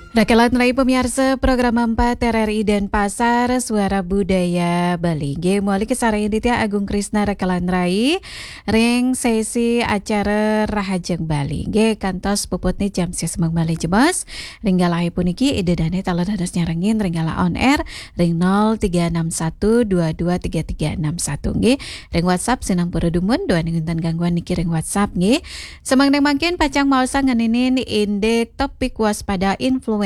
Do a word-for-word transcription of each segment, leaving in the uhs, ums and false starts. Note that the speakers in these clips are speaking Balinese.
Rakelan Rai pamiarsa program empat R R I Denpasar, Suara Budaya Bali. Nggih, mawali kasarengin titiang Agung Krisna Rakelan Rai ring sesi acara Rahajeng Bali. Nggih, kantos puputne jam sisiu malih jebos. Ring galahe puniki Ida Dane taler dados nyarengin ring galah on air ring nol tiga enam satu dua dua tiga tiga enam satu. Nggih, ring WhatsApp sinampura dumun, duaning wenten gangguan niki ring WhatsApp nggih. Samangda mangkin pacang maosang ngeninin indik topik waspada influenza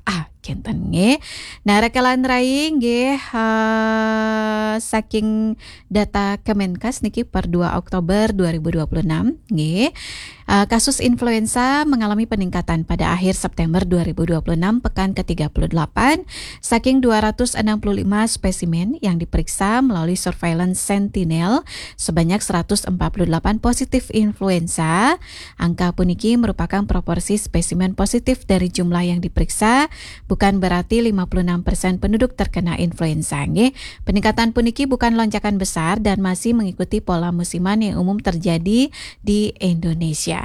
A kenten nggih. Nah, Rakelan Rai nggih, eh, saking data Kemenkes niki per dua Oktober dua ribu dua puluh enam nggih. Eh, kasus influenza mengalami peningkatan pada akhir September dua ribu dua puluh enam, pekan ketiga puluh delapan. Saking dua ratus enam puluh lima spesimen yang diperiksa melalui surveillance Sentinel, sebanyak seratus empat puluh delapan positif influenza. Angka puniki merupakan proporsi spesimen positif dari jumlah yang diperiksa, bukan berarti lima puluh enam persen penduduk terkena influenza nggih. Peningkatan puniki bukan lonjakan besar dan masih mengikuti pola musiman yang umum terjadi di Indonesia.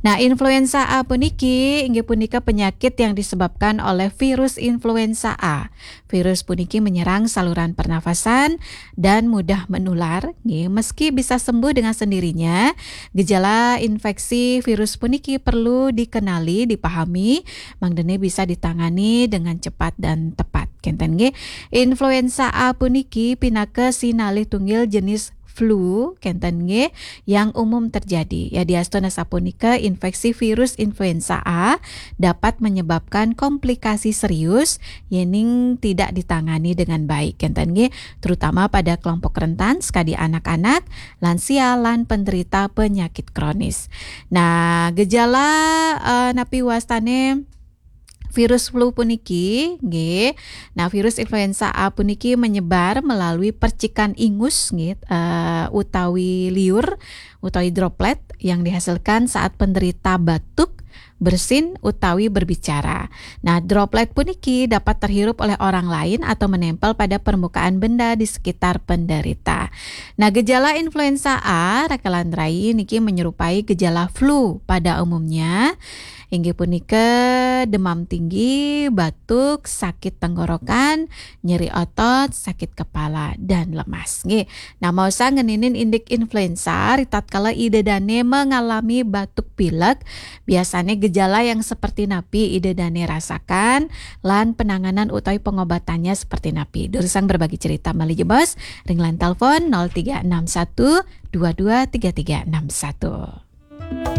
Nah, influenza A puniki inggih punika penyakit yang disebabkan oleh virus influenza A. Virus puniki menyerang saluran pernafasan dan mudah menular nggih. Meski bisa sembuh dengan sendirinya, gejala infeksi virus puniki perlu dikenali, dipahami, mangdane bisa ditangani dengan cepat dan tepat. Kenten nggih. Influenza A puniki pinaka sinalih tunggil jenis flu kenten nggih yang umum terjadi. Yadiastun asapunika, infeksi virus influenza A dapat menyebabkan komplikasi serius yening tidak ditangani dengan baik kenten nggih, terutama pada kelompok rentan sekadi anak-anak, lansia, lan penderita penyakit kronis. Nah, gejala, eh, napi wastane virus flu puniki nggih. Nah, virus influenza A puniki menyebar melalui percikan ingus nggih, eh, utawi liur utawi droplet yang dihasilkan saat penderita batuk, bersin, utawi berbicara. Nah, droplet puniki dapat terhirup oleh orang lain atau menempel pada permukaan benda di sekitar penderita. Nah, gejala influenza A, Rakelan Rai, niki menyerupai gejala flu pada umumnya. Inggih punika demam tinggi, batuk, sakit tenggorokan, nyeri otot, sakit kepala, dan lemas. Nggih. Nah, maosang ngeninin indik influenza, ritatkala Ida Dane mengalami batuk pilek, biasane gejala yang seperti napi Ida Dane rasakan, lan penanganan utawi pengobatannya seperti napi. Durusang berbagi cerita malih jebos, ring line telepon nol tiga enam satu dua dua tiga tiga enam satu.